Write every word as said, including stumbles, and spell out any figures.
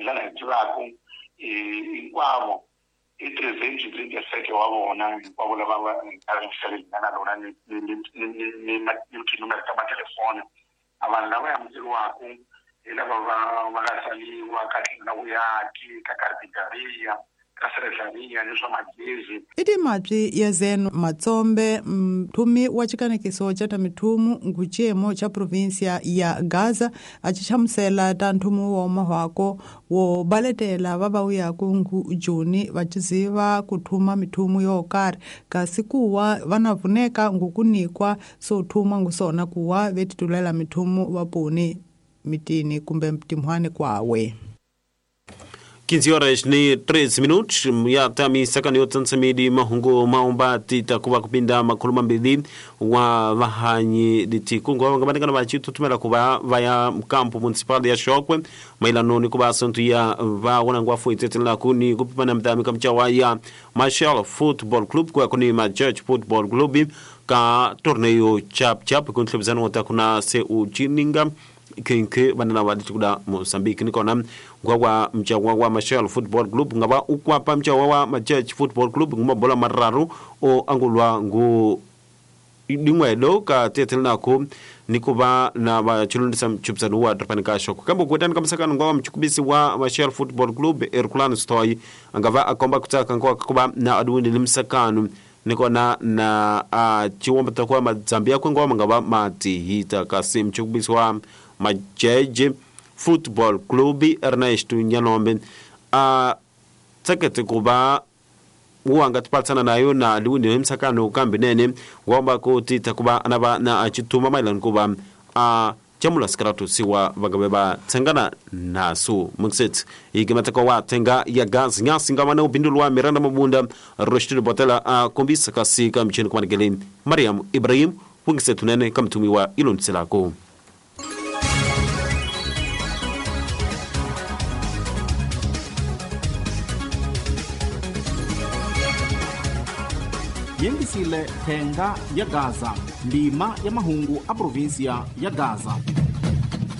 Hi laha hi tivaka hinkwavo i trezentos e trinta e sete wa vona hinkwavo lava va nga nga na lona ni ni ni ni ni tinumere ta matelefoni. A vanhu lava amukeriwaka hi lava va va nga tsaliwa ka tlhelo la vuyaki, ka carpintaria, ka serraria ni swa magezi. I timapyi ya Zeno Matsombe, mthumi wa xikanekiso xa ta mithumu ngucemo xa provinsia ya Gaza, a xi hlamusela ta nthumu wa mahwako wo baletela va va uyaku ngu Joni va ciziva ku thuma mithumu yo karhi, kasi kuwa va na vuneka ngukunikwa so thuma ngusona kuwa vetitulela mithumu va poni mitini kumbe timhwani kwawe. quinze horas ni treze minutos ya tami sakani yotsansamidi mahungu maomba tita kuva kupinda makhulu mambili wa vahanyi litikungu vangabatikana vachitutumela kuva vaya mkampo municipal ya Shokwe mailano ni kuva assunto ya va wanangwa fuitetelana kuni kupipana mdami kamchawa ya Marshall Football Club kwa kuni ma Church Football Club ka torneio chap chap kuntlebizano otakuna se uchininga kinke banana wa ditukuda Mozambique nikona ngwa mchawa wa Marshall Football Club ngaba ukwapa mchawa wa Majech Football Club ngumabola mararu o angulwa ngu dingwedo ka tetelnako nikuba na bachulundisa mchupsanu wa drapanika shoko kambo kwetani kamsakano ngwa mchukubisi wa Marshall Football Club Erkulano Stoi angava akomba kutaka ngwa kuba na adundi limsakano nikona na uh, chiwomba takuwa madzambia kwengwa mangaba matihita kasi mchukubisi wa Majeje Football Club Ernesto Nyanombe a tsakete kuba uwanga tipatsana nayo na liwindi msakano kambi nene ngwamba kuti takuba anaba na achituma mailani kuba a chamula sikaratu siwa vangabeba tsengana nasu mxit ikimataka wa tenga ya gas nyasi ngamana upindulwa Miranda Mabunda Roshid Botela a kombisa kasi kamchini kumanigele Mariam Ibrahim wingisetu nene kamtumiwa ilonselako. Yengisile thenga ya Gaza, ndima ya mahungu a provinsia ya Gaza.